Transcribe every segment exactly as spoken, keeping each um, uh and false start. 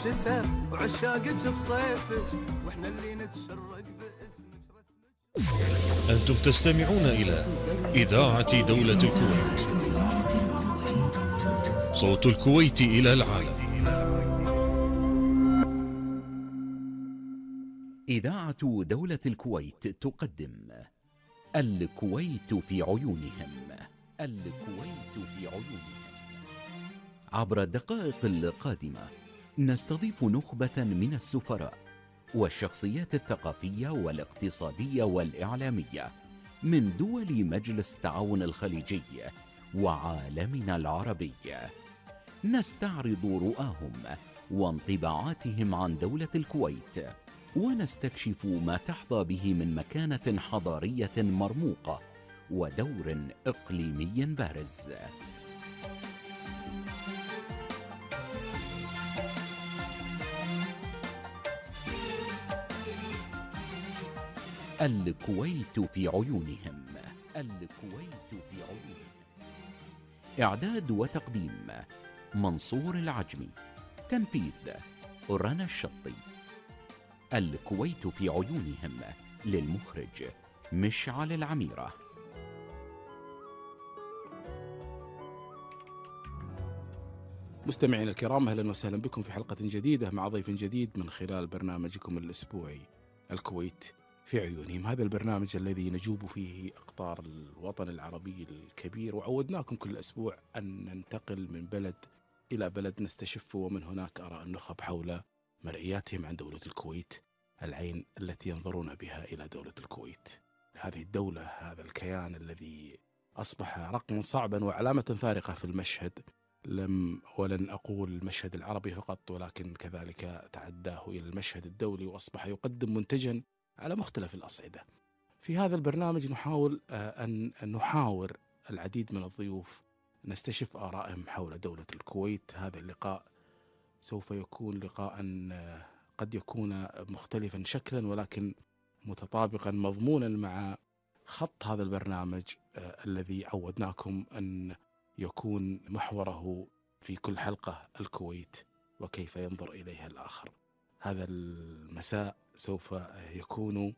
بشتاء وعشاقك بصيفك، واحنا اللي نتشرق باسمك رسمك. أنتم تستمعون إلى إذاعة دولة الكويت، صوت الكويت إلى العالم. إذاعة دولة الكويت تقدم الكويت في عيونهم. الكويت في عيونهم. عبر الدقائق القادمة نستضيف نخبة من السفراء والشخصيات الثقافية والاقتصادية والإعلامية من دول مجلس التعاون الخليجي وعالمنا العربي. نستعرض رؤاهم وانطباعاتهم عن دولة الكويت، ونستكشف ما تحظى به من مكانة حضارية مرموقة ودور إقليمي بارز. الكويت في عيونهم. الكويت في عيونهم. إعداد وتقديم منصور العجمي. تنفيذ رنا الشطي. الكويت في عيونهم للمخرج مشعل العميرة. مستمعينا الكرام، أهلا وسهلا بكم في حلقة جديدة مع ضيف جديد من خلال برنامجكم الأسبوعي الكويت في عيونهم. هذا البرنامج الذي نجوب فيه أقطار الوطن العربي الكبير، وعودناكم كل أسبوع أن ننتقل من بلد إلى بلد نستشف ومن هناك آراء النخب حول مرئياتهم عن دولة الكويت، العين التي ينظرون بها إلى دولة الكويت. هذه الدولة، هذا الكيان الذي أصبح رقما صعبا وعلامة فارقة في المشهد، لم ولن أقول المشهد العربي فقط، ولكن كذلك تعداه إلى المشهد الدولي، وأصبح يقدم منتجا على مختلف الأصعدة. في هذا البرنامج نحاول أن نحاور العديد من الضيوف، نستشف آرائهم حول دولة الكويت. هذا اللقاء سوف يكون لقاء قد يكون مختلفا شكلا ولكن متطابقا مضمونا مع خط هذا البرنامج الذي عودناكم أن يكون محوره في كل حلقة الكويت وكيف ينظر إليها الآخر. هذا المساء سوف يكون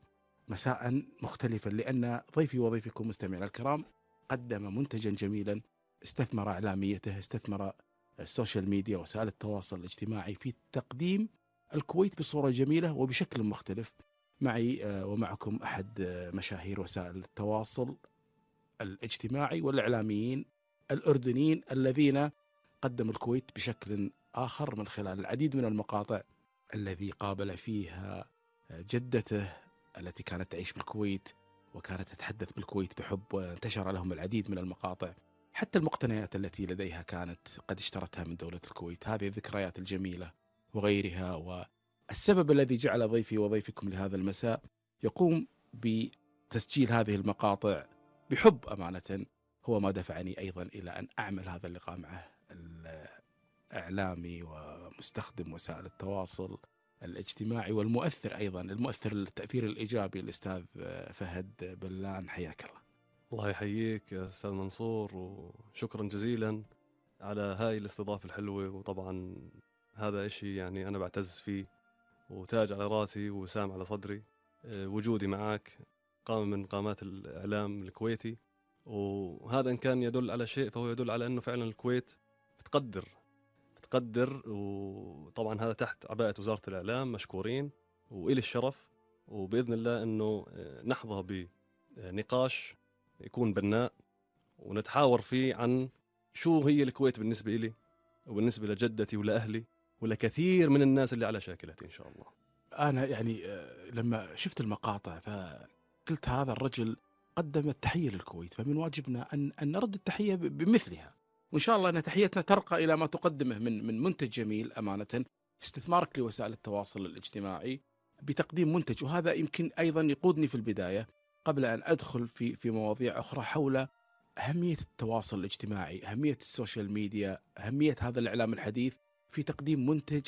مساء مختلفا، لأن ضيفي وضيفكم مستمعينا الكرام قدم منتجا جميلا، استثمر إعلاميته، استثمر السوشيال ميديا وسائل التواصل الاجتماعي في تقديم الكويت بصورة جميلة وبشكل مختلف. معي ومعكم أحد مشاهير وسائل التواصل الاجتماعي والإعلاميين الأردنيين الذين قدموا الكويت بشكل آخر من خلال العديد من المقاطع الذي قابل فيها جدته التي كانت تعيش بالكويت وكانت تتحدث بالكويت بحب، وانتشر لهم العديد من المقاطع، حتى المقتنيات التي لديها كانت قد اشترتها من دولة الكويت. هذه الذكريات الجميلة وغيرها. والسبب الذي جعل ضيفي وضيفكم لهذا المساء يقوم بتسجيل هذه المقاطع بحب أمانة هو ما دفعني أيضا إلى أن أعمل هذا اللقاء معه، الإعلامي ومستخدم وسائل التواصل الاجتماعي والمؤثر أيضا، المؤثر التأثير الإيجابي، الأستاذ فهد بلان. حياك الله. الله يحييك يا أستاذ منصور، وشكرا جزيلا على هاي الاستضافة الحلوة. وطبعا هذا إشي يعني أنا بعتز فيه وتاج على راسي وسام على صدري. وجودي معك قامة من قامات الإعلام الكويتي، وهذا إن كان يدل على شيء فهو يدل على أنه فعلا الكويت بتقدر بتقدر وطبعا هذا تحت عباءة وزارة الإعلام، مشكورين وإلي الشرف. وبإذن الله أنه نحظى بنقاش يكون بناء ونتحاور فيه عن شو هي الكويت بالنسبة إلي وبالنسبة لجدتي ولأهلي ولكثير من الناس اللي على شاكلتي إن شاء الله. أنا يعني لما شفت المقاطع فقلت هذا الرجل قدم التحية للكويت، فمن واجبنا أن أن نرد التحية بمثلها، وإن شاء الله أن تحيتنا ترقى إلى ما تقدمه من من منتج جميل أمانة. استثمارك لوسائل التواصل الاجتماعي بتقديم منتج، وهذا يمكن أيضا يقودني في البداية قبل أن أدخل في في مواضيع أخرى حول أهمية التواصل الاجتماعي، أهمية السوشيال ميديا، أهمية هذا الإعلام الحديث في تقديم منتج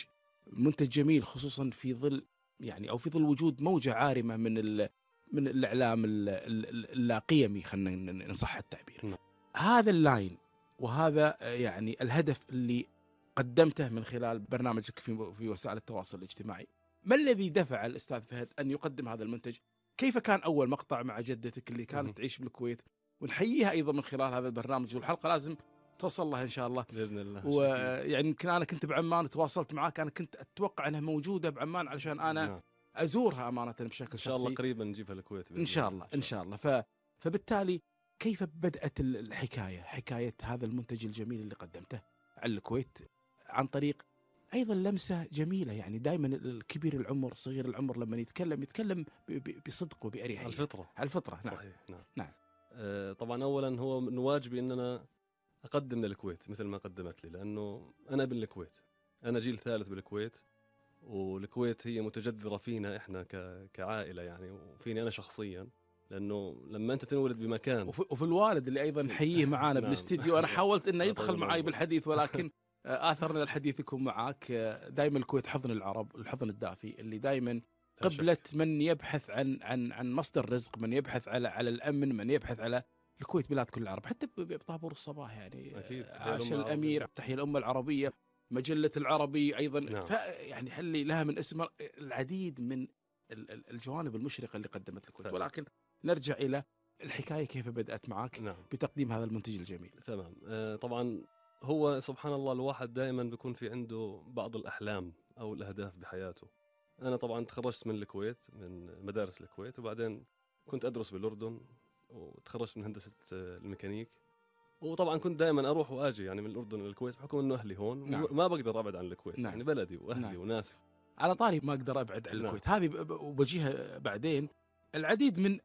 منتج جميل، خصوصا في ظل يعني أو في ظل وجود موجة عارمة من ال من الإعلام اللا قيمي، خلينا نصح التعبير. هذا اللاين وهذا يعني الهدف اللي قدمته من خلال برنامجك في في وسائل التواصل الاجتماعي. ما الذي دفع الأستاذ فهد أن يقدم هذا المنتج؟ كيف كان أول مقطع مع جدتك اللي كانت تعيش بالكويت؟ ونحييها أيضا من خلال هذا البرنامج، والحلقة لازم توصل لها إن شاء الله باذن الله. ويعني يمكن أنا كنت بعمان وتواصلت معاك، أنا كنت أتوقع أنها موجودة بعمان علشان أنا نعم. أزورها أمانة بشكل ان شاء الله شخصي. قريبا نجيبها الكويت بإذن إن شاء الله إن شاء الله. ف... فبالتالي كيف بدأت الحكاية، حكاية هذا المنتج الجميل اللي قدمته على الكويت عن طريق أيضا لمسة جميلة؟ يعني دائما الكبير العمر صغير العمر لما يتكلم يتكلم ب... ب... بصدق وبأريحية على الفطره. على الفطرة. نعم. صحيح. نعم. نعم. آه طبعا اولا هو من واجبي ان انا اقدم للكويت مثل ما قدمت لي، لانه انا ابن الكويت، انا جيل ثالث بالكويت، والكويت هي متجذره فينا احنا ك... كعائله يعني، وفيني انا شخصيا، لانه لما انت تنولد بمكان. وفي, وفي الوالد اللي أيضا نحييه معانا نعم. بالاستديو. أنا حاولت أنه يدخل طيب معي العمر. بالحديث ولكن آثرنا الحديث يكون معك. دائما الكويت حضن العرب، الحضن الدافي اللي دائما لا شك. قبلة من يبحث عن عن عن مصدر رزق، من يبحث على على الأمن، من يبحث على الكويت بلاد كل العرب، حتى بطابور الصباح يعني. أكيد. تحية عاش الأمة الأمير، العربية. تحية الأمة العربية، مجلة العربي أيضا. نعم. ف يعني حلي لها من اسم العديد من ال- ال- الجوانب المشرقة اللي قدمت الكويت. فعلا. ولكن نرجع إلى الحكاية كيف بدأت معك نعم. بتقديم هذا المنتج الجميل. تمام. آه طبعا هو سبحان الله الواحد دائما بيكون في عنده بعض الأحلام أو الأهداف بحياته. أنا طبعا تخرجت من الكويت، من مدارس الكويت، وبعدين كنت أدرس بالأردن، وتخرجت من هندسة آه، الميكانيك. وطبعا كنت دائما أروح وأجي يعني من الأردن للكويت بحكم إنه أهلي هون. نعم. ما بقدر أبعد عن الكويت. نعم. يعني بلدي وأهلي نعم. وناسي. على طاري ما أقدر أبعد عن نعم. الكويت هذه، ب- ب- وبجيها بعدين. العديد من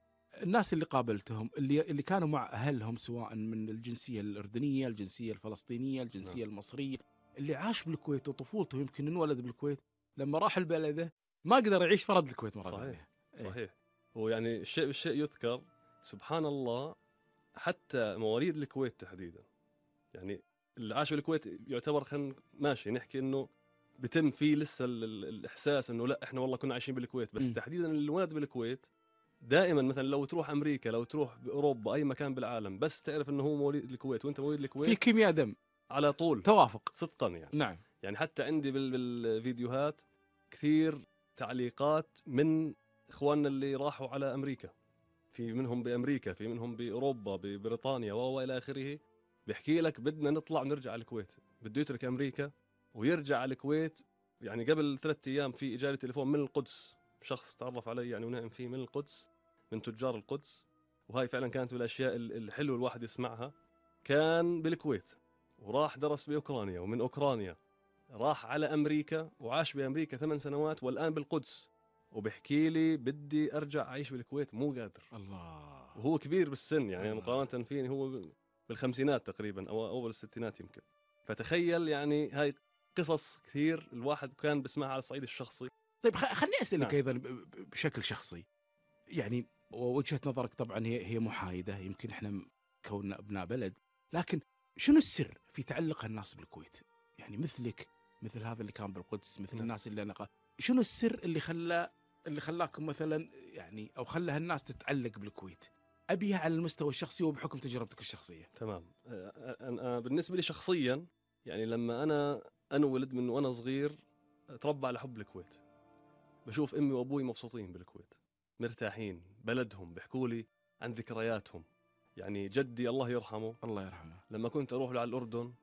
الناس اللي قابلتهم اللي اللي كانوا مع أهلهم سواء من الجنسية الأردنية، الجنسية الفلسطينية، الجنسية المصرية، اللي عاش بالكويت وطفولته يمكن انولد بالكويت، لما راح البلده ما قدر يعيش فرد الكويت مرة صحيح. ثانية. إيه. صحيح. ويعني الشيء بالشيء يذكر سبحان الله، حتى مواليد الكويت تحديدا، يعني اللي عاش بالكويت يعتبر خلينا ماشي نحكي انه بتم فيه لسه ال- ال- الاحساس انه لا احنا والله كنا عايشين بالكويت، بس م. تحديدا اللي ولد بالكويت دائما مثلا لو تروح امريكا، لو تروح باوروبا، اي مكان بالعالم، بس تعرف انه هو مواليد الكويت وانت مواليد في الكويت كيمياء دم، على طول توافق. صدقا يعني. نعم. يعني حتى عندي بال- بالفيديوهات كثير تعليقات من اخواننا اللي راحوا على امريكا، في منهم بامريكا، في منهم باوروبا، ببريطانيا والى اخره، بيحكي لك بدنا نطلع ونرجع على الكويت، بده يترك امريكا ويرجع على الكويت. يعني قبل ثلاثة ايام في اجاني تليفون من القدس، شخص تعرف علي يعني ونعم فيه من القدس، من تجار القدس، وهاي فعلا كانت من الاشياء ال- الحلوه الواحد يسمعها. كان بالكويت وراح درس باوكرانيا، ومن اوكرانيا راح على امريكا وعاش بامريكا ثمان سنوات، والان بالقدس، وبحكي لي بدي ارجع اعيش بالكويت مو قادر. الله. وهو كبير بالسن يعني آه. مقارنه فيني، هو بالخمسينات تقريبا او اول الستينات يمكن. فتخيل يعني هاي قصص كثير الواحد كان بسمعها على الصعيد الشخصي. طيب خ- خليني اسالك نعم. ايضا ب- ب- بشكل شخصي، يعني ووجهه نظرك طبعا هي هي محايده، يمكن احنا كوننا ابناء بلد، لكن شنو السر في تعلق الناس بالكويت؟ يعني مثلك، مثل هذا اللي كان بالقدس، مثل نعم. الناس اللي انا قا... شنو السر اللي خلى اللي خلاكم مثلا يعني او خلى هالناس تتعلق بالكويت؟ ابيها على المستوى الشخصي وبحكم تجربتك الشخصيه. تمام. أه، أنا بالنسبه لي شخصيا يعني لما انا انولد من وانا صغير اتربى على حب الكويت. بشوف امي وابوي مبسوطين بالكويت، مرتاحين بلدهم، بيحكوا لي عن ذكرياتهم. يعني جدي الله يرحمه الله يرحمه. لما كنت اروح له على الاردن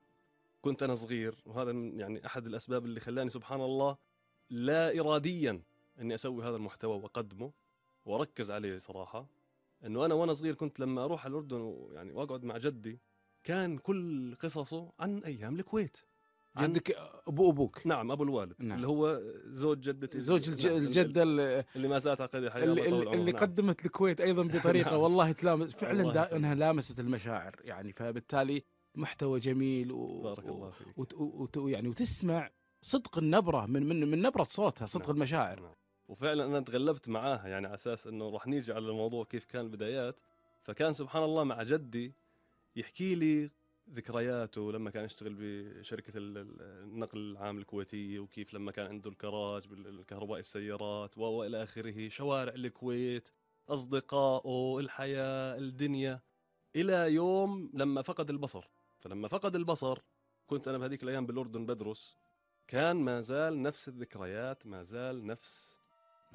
كنت انا صغير، وهذا من يعني احد الاسباب اللي خلاني سبحان الله لا اراديا اني اسوي هذا المحتوى واقدمه واركز عليه صراحه. انه انا وانا صغير كنت لما اروح على الاردن ويعني واقعد مع جدي كان كل قصصه عن ايام الكويت. عن- جدك ابو ابوك. نعم ابو الوالد. نعم. اللي هو زوج جدتي، زوج الج... نعم، الجده اللي, اللي ما زالت عقيدة حياة اللي, الله طول اللي, عمره. اللي نعم. قدمت الكويت ايضا بطريقه نعم. والله تلامس فعلا الله دا يسلمك. انها لامست المشاعر يعني، فبالتالي محتوى جميل و... بارك الله فيك. وت... وت... يعني وتسمع صدق النبره من من من نبره صوتها، صدق نعم. المشاعر. نعم. وفعلا انا تغلبت معاها يعني على اساس انه راح نيجي على الموضوع كيف كان البدايات. فكان سبحان الله مع جدي يحكي لي ذكرياته لما كان يشتغل بشركة ال- ال- النقل العام الكويتية، وكيف لما كان عنده الكراج بالكهرباء السيارات وإلى آخره، شوارع الكويت، أصدقائه، الحياة، الدنيا، إلى يوم لما فقد البصر. فلما فقد البصر كنت أنا بهذيك الأيام بالأردن بدرس، كان ما زال نفس الذكريات، ما زال نفس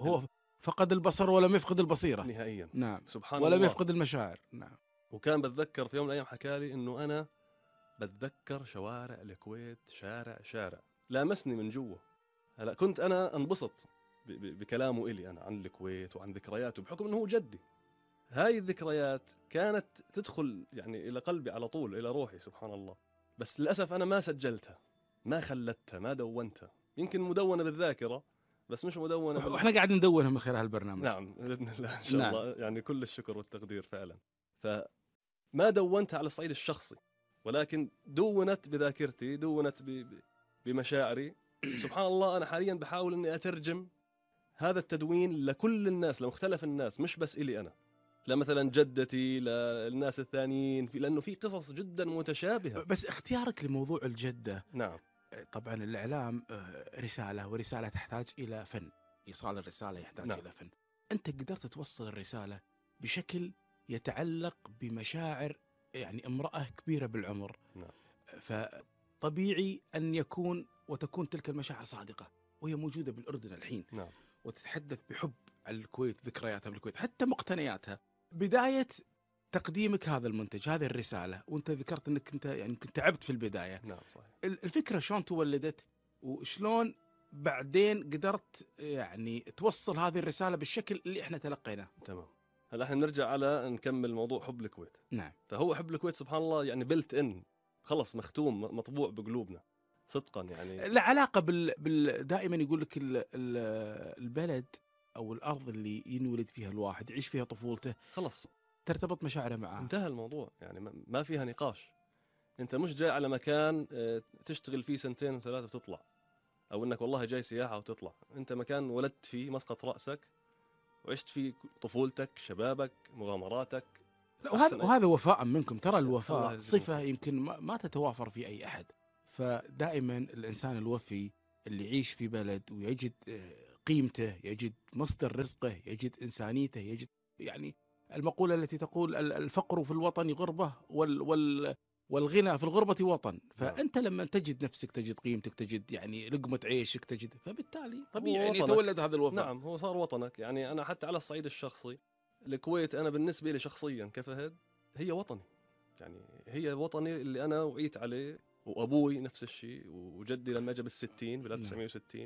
هو فقد البصر ولم يفقد البصيرة. نهائيا. نعم. سبحان ولم الله. يفقد المشاعر. نعم. وكان بتذكر في يوم من الأيام حكى لي إنه أنا بتذكر شوارع الكويت شارع شارع، لامسني من جوا. هلا كنت أنا أنبسط ب- ب- بكلامه إلي أنا عن الكويت وعن ذكرياته، بحكم إنه هو جدي. هاي الذكريات كانت تدخل يعني إلى قلبي على طول، إلى روحي، سبحان الله. بس للأسف أنا ما سجلتها، ما خلتها، ما دونتها. يمكن مدونة بالذاكرة بس مش مدونة بال... واحنا قاعدين ندونها من خلال البرنامج. نعم بإذن الله إن شاء نعم. الله، يعني كل الشكر والتقدير فعلا. فما دونتها على الصعيد الشخصي، ولكن دونت بذاكرتي، دونت ب... ب- بمشاعري. سبحان الله. أنا حاليا بحاول أني أترجم هذا التدوين لكل الناس، لمختلف الناس، مش بس إلي أنا، لمثلا جدتي، للناس الثانيين، في لأنه في قصص جدا متشابهة. بس اختيارك لموضوع الجدة، نعم. طبعا الإعلام آه، رسالة، ورسالة تحتاج إلى فن. إيصال الرسالة يحتاج نعم. إلى فن. أنت قدرت توصل الرسالة بشكل يتعلق بمشاعر يعني امرأة كبيرة بالعمر. نعم. فطبيعي أن يكون وتكون تلك المشاعر صادقة، وهي موجودة بالأردن الحين. نعم. وتتحدث بحب على الكويت، ذكرياتها بالكويت، حتى مقتنياتها. بداية تقديمك هذا المنتج، هذه الرسالة، وانت ذكرت انك انت يعني يمكن تعبت في البداية. نعم صحيح. ال- الفكرة شلون تولدت، وشلون بعدين قدرت يعني توصل هذه الرسالة بالشكل اللي احنا تلقيناه؟ تمام. هلا احنا نرجع على نكمل موضوع حب الكويت. نعم. فهو حب الكويت سبحان الله يعني بلت ان، خلص مختوم، مطبوع بقلوبنا صدقا يعني. لا علاقة بال... بال... دائما يقول لك ال... ال... البلد أو الأرض اللي ينولد فيها الواحد، يعيش فيها طفولته، خلص ترتبط مشاعره معاه. انتهى الموضوع، يعني ما- ما فيها نقاش. انت مش جاي على مكان آه، تشتغل فيه سنتين وثلاثة وتطلع، او انك والله جاي سياحة وتطلع. انت مكان ولدت فيه مسقط رأسك، وعشت فيه طفولتك، شبابك، مغامراتك. لا، وهذا أحسن- وهذا وفاء منكم. ترى الله الوفاء يجزيكم صفة خير. يمكن ما, ما تتوافر في أي أحد. فدائما الإنسان الوفي اللي يعيش في بلد ويجد آه، قيمته، يجد مصدر رزقه، يجد إنسانيته، يجد يعني المقولة التي تقول ال- الفقر في الوطن غربة، وال وال والغنى في الغربة وطن. فأنت لما تجد نفسك، تجد قيمتك، تجد يعني لقمة عيشك، تجد، فبالتالي طبيعي أن وطنك. يتولد هذا الوفاء. نعم هو صار وطنك. يعني أنا حتى على الصعيد الشخصي، الكويت أنا بالنسبة لي شخصيا كفهد هي وطني، يعني هي وطني اللي أنا وعيت عليه، وأبوي نفس الشيء، وجدي لما جاء بالستين بال ألف وتسعمية وستين